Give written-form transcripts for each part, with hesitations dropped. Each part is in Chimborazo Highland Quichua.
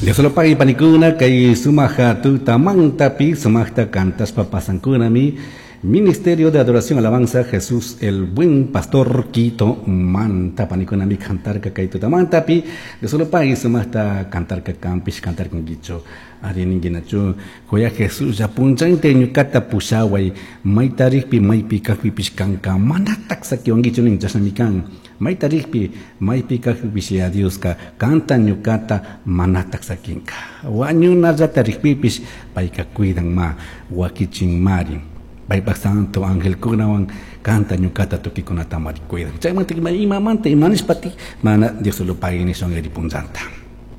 Dios pague panikuna kay sumaq tutamantapi sumaqta cantaspa pasankunami Ministerio de Adoración Alabanza Jesús el Buen Pastor Quito manta panikunami cantarka kay tutamantapi. Dios lo pague sumaqta cantarka kampish cantarkankichu ari ninkinachu Joya Jesús ya punchante ñukata pushaway mayta rikpi maypi kajpipish kanka manatak sakiwankichu nin chashnami kan mayta rikpi maypi kajpipish ya Dioska kanta ñukata manatak sakinka wañunallata rikpipish payka cuidan ma wakichin mari. Paypak santo angelkunawan kanta ñukata tukikunata mari cuidan. Chaymanta imamanta imanishpati mana Dios lo pague nishun punchanta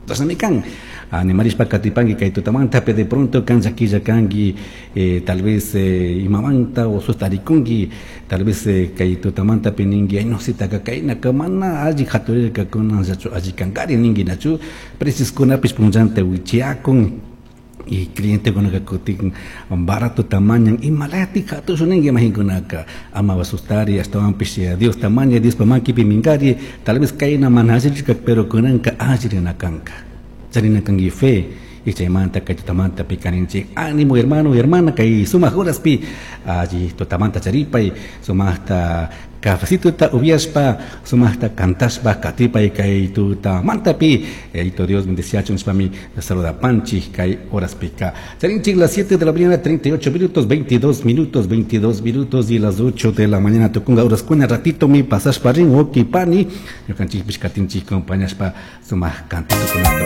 chashnami kan animarishpa katipanki kay tutamanta pe de pronto kan llaquilla kanki tal vez imamanta o sustarikunki tal vez kay tutamanta pe ninki ay no sitaka kaynaka mana alli haturirka kunanllachu alli kankari ninki nachu precioskunapish punchanta wichiakun y clientekunaka kutin barato tamañan imalati hatushun ninki mahinkunaka ama asustari ashtawanpish Dios tamaña Diospa makipi minkari tal vez kayna mana allirka pero kunanka allirina kanka. Charina kanki fe y chaymanta kay tutamanta pi kaninchik ánimo hermano y hermana kay sumaq horaspi alli tutamanta charipay sumaqta cafecito ubiaspa sumaqta cantashpa katipay kay tutamantapi Yaito Dios bendeciachun nishpami saludapanchik kay horaspika charinchik las 7 de la mañana 38 minutos 22 minutos 22 minutos y las 8 de la mañana tukunga horas kuna ratito mi pasashpa rin pani ñukanchikpish katinchik compañashpa sumaq cantito kunata.